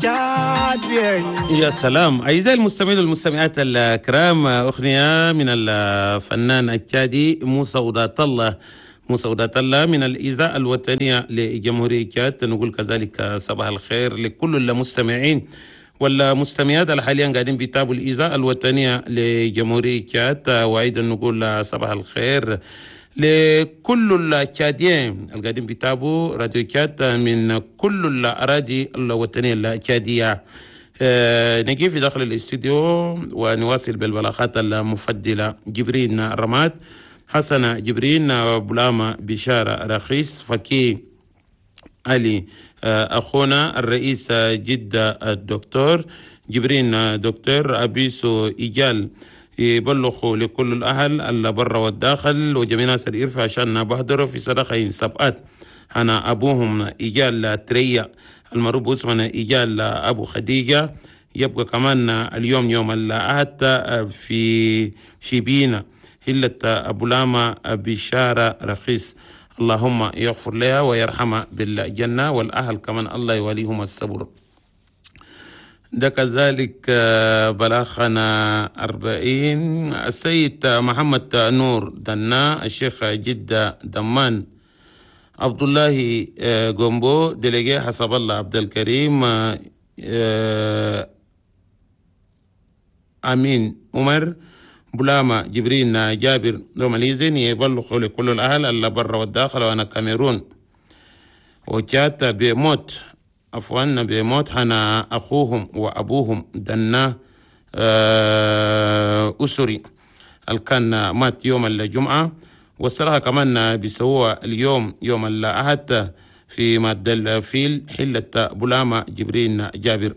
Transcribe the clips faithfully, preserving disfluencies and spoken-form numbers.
يا سلام. أعزائي المستمعين والمستمعات الكرام، أغنية من الفنان التشادي موسى ودات الله، موسى ودات الله من الإذاعة الوطنية لجمهورية تشاد. نقول كذلك صباح الخير لكل المستمعين والمستمعات اللي حاليا قاعدين بيتابعوا الإذاعة الوطنية لجمهورية تشاد، وأيضا نقول صباح الخير لكل التشاديين اللي قاعدين بيتابعوا راديو تشاد من كل الأراضي الوطنية التشادية. آه، نجي في داخل الاستديو ونواصل بالبلاغات المفضلة. جبرين رماد، حسن جبرين، بلاما بشارة رخيص، فكي علي، آه، أخونا الرئيس جدة الدكتور جبرين دكتور أبيسو إيجال، يبلغوا لكل الأهل اللي برا والداخل وجميع ناس الإرفع عشان بحضروا في صدقة سبقات أنا أبوهم إيجال تريا المعروف اسمنا إيجال أبو خديجة. يبقى كمان اليوم يوم الأحد في شبينة هلة أبو لاما بشارة رخيص، اللهم يغفر لها ويرحمها بالجنة، والأهل كمان الله يوليهم الصبر. ده كذلك بلاغنا أربعين السيد محمد نور دنا، الشيخ جدة دمان، عبد الله جومبو délégué، حسب الله عبد الكريم، أمين عمر، بلاما جبرين جابر دوماليزين، يبلغوا لكل الأهل اللي برا والداخل وأنا كاميرون وجات بموت، عفوا بموت حنا أخوهم وأبوهم دنا أسري اللي كان مات يوم الجمعة، والصراحة كمان بيسووها اليوم يوم الأحد في مادة الفيل حلة بلاما جبرين جابر،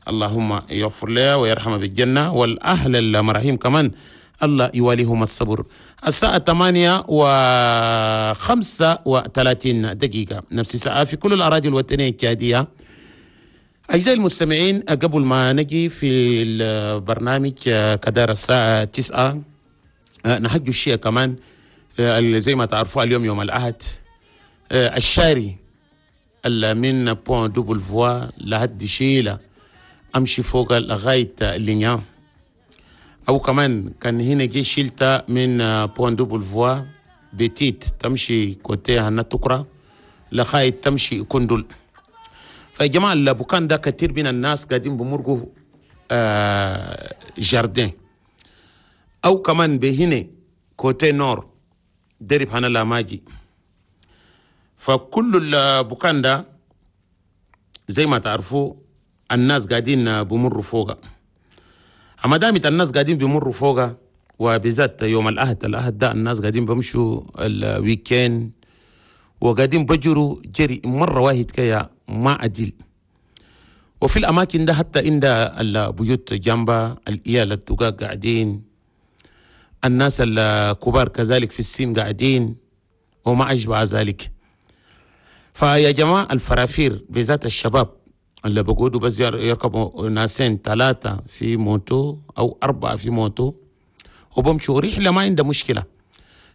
اللهم يغفر لها ويرحمها بالجنة، والأهل المراحيم كمان الله يواليهم الصبر. الساعة ثمانية وخمسة وثلاثين دقيقة نفس الساعة في كل الأراضي الوطنية التشادية. أعزائي المستمعين، قبل ما نجي في البرنامج كدار الساعة تسعة نحج الشيء كمان زي ما تعرفوا اليوم يوم الأحد، الشاري اللي من Pont Double Voie لحد شيلة أمشي فوق لغاية لينيا، أو كمان كان هنا جي شيلتا من Pont Double Voie بتيت تمشي côté هنا تكرا لغاية تمشي كندل. فيا جماعة البكان ده كتير من الناس قاعدين بمرقوا آه jardin، أو كمان بهنا côté nord درب هنا لاماجي. فكل البكان ده زي ما تعرفوا الناس قاعدين بمروا فوقه. أما دامت الناس قاعدين بمروا فوقه، وبالذات يوم الأحد، الأحد ده الناس قاعدين بمشوا ال week-end وقاعدين بجروا جري مرة واحد كيا ما عدل. وفي الأماكن ده حتى عند البيوت جنبها الإيال الدقاق قاعدين، الناس الكبار كذلك في السن قاعدين وما أشبه ذلك. فيا جماعة الفرافير بالذات الشباب اللي بقودوا بس يركبوا ناسين ثلاثة في moto أو أربعة في moto وبمشوا رحلة ما عندها مشكلة.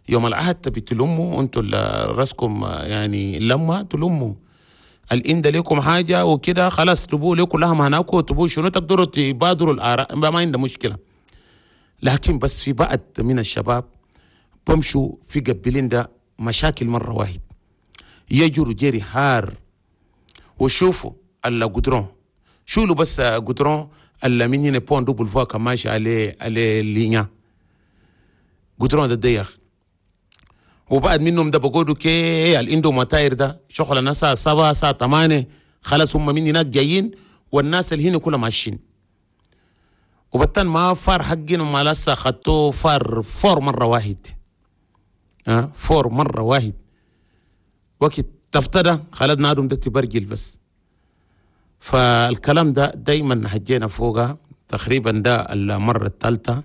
يوم الأحد بتلموا أنتوا راسكم يعني لما تلموا الإند لكم حاجة وكده خلاص تبوا لكم لها هناك وتبوا شنو تقدروا تبادروا الآراء ما عندها مشكلة. لكن بس في بعض من الشباب بمشوا في قبلين ده مشاكل مرة واحد، يجروا جري حار وشوفوا الجدران شولوا بس جدران اللي من هنا Pont Double Voie كان ماشي عليه عليه لينيا جدران ده ضيق. وبعد منهم ده بقولوا كي الاندو متاير ده شغل الناس الساعة سبعة الساعة ثمانية خلاص هم من هناك جايين والناس اللي هنا كلها ماشيين. وبتن ما phare حقين وما لسه خدتوه phare fort مرة واحد، ها fort مرة واحد وقت تفتدى خلاص نادم ده تبرجل بس. فالكلام ده دايما حجينا فوقها تقريبا ده المرة الثالثة.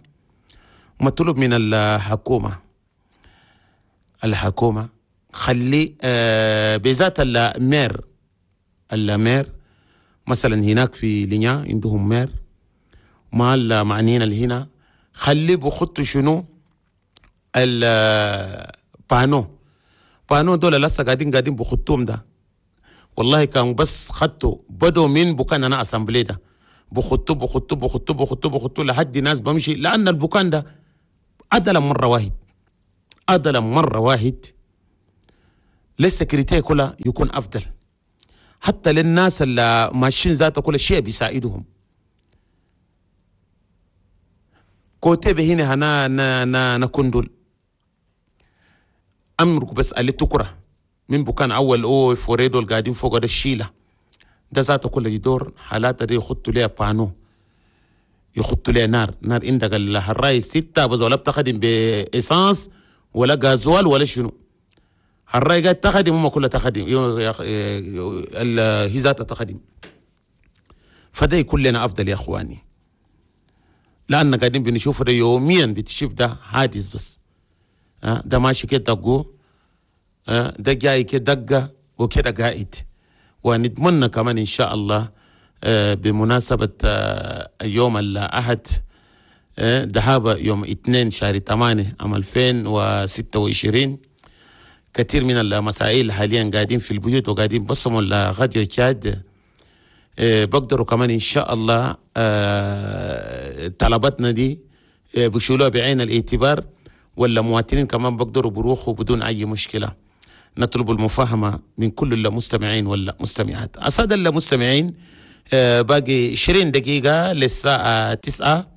مطلوب من الحكومة، الحكومة خلي آه بالذات ال maire، ال maire مثلا هناك في لينيا عندهم maire مع المعنيين اللي هنا، خلي بخطوا شنو ال panneau panneau دول لسه قاعدين قاعدين بخطوهم ده. والله كان بس خدته بدوا من بكان انا assemblée ده بخطو بخطو بخطو بخطو بخطو لحد ناس بمشي، لان البكان ده عدلا مرة واحد، عدلا مرة واحد لل sécurité كلها يكون افضل، حتى للناس اللي ماشيين ذاته كل شيء بيساعدهم. côté هنا هنا نا نا نكندل امرك بس اللي تكره من بكان اول او فوريدو القاعدين فوق ده الشيله ده ذاته كله يدور حالات دي يخطوا ليها panneau، يخطوا ليها نار نار عندك الهراي ستة بس ولا بتخدم ب essence ولا غازوال ولا شنو، الراي قاعد تخدم هم كلها تخدم هي ذاتها تخدم. فده يكون لنا افضل يا اخواني، لان قاعدين بنشوف ده يوميا، بتشوف ده حادث بس ده ماشي كده دقو، ده جاي كده دقه وكده قاعد. ونتمنى كمان ان شاء الله بمناسبة يوم الاحد ذهاب يوم اثنين شهر ثمانية عام ألفين وستة وعشرين، كثير من المسائل حاليا قاعدين في البيوت وقاعدين بصموا الراديو تشاد، بقدروا كمان ان شاء الله طلباتنا دي بشيلوها بعين الاعتبار، ولا مواطنين كمان بقدروا بروحوا بدون اي مشكلة. نطلب المفاهمه من كل المستمعين والمستمعات. السادة المستمعين باقي عشرين دقيقة للساعة تسعة،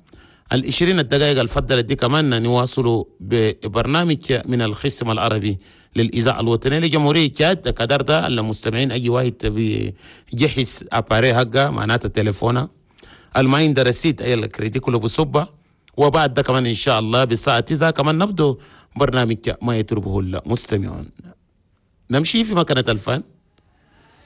العشرين الدقائق الفضلت دي كمان نواصلوا ببرنامج من الخصم العربي للإذاعة الوطنية لجمهورية تشاد. كدر ده المستمعين أي واحد بيجهز appareil حقه معناته تليفونه الماين رصيد أي الكريدي كله بصبة، وبعد ده كمان إن شاء الله بالساعة تسعة كمان نبدو برنامج ما يطلبه المستمعون. نمشي في مكانة الفن.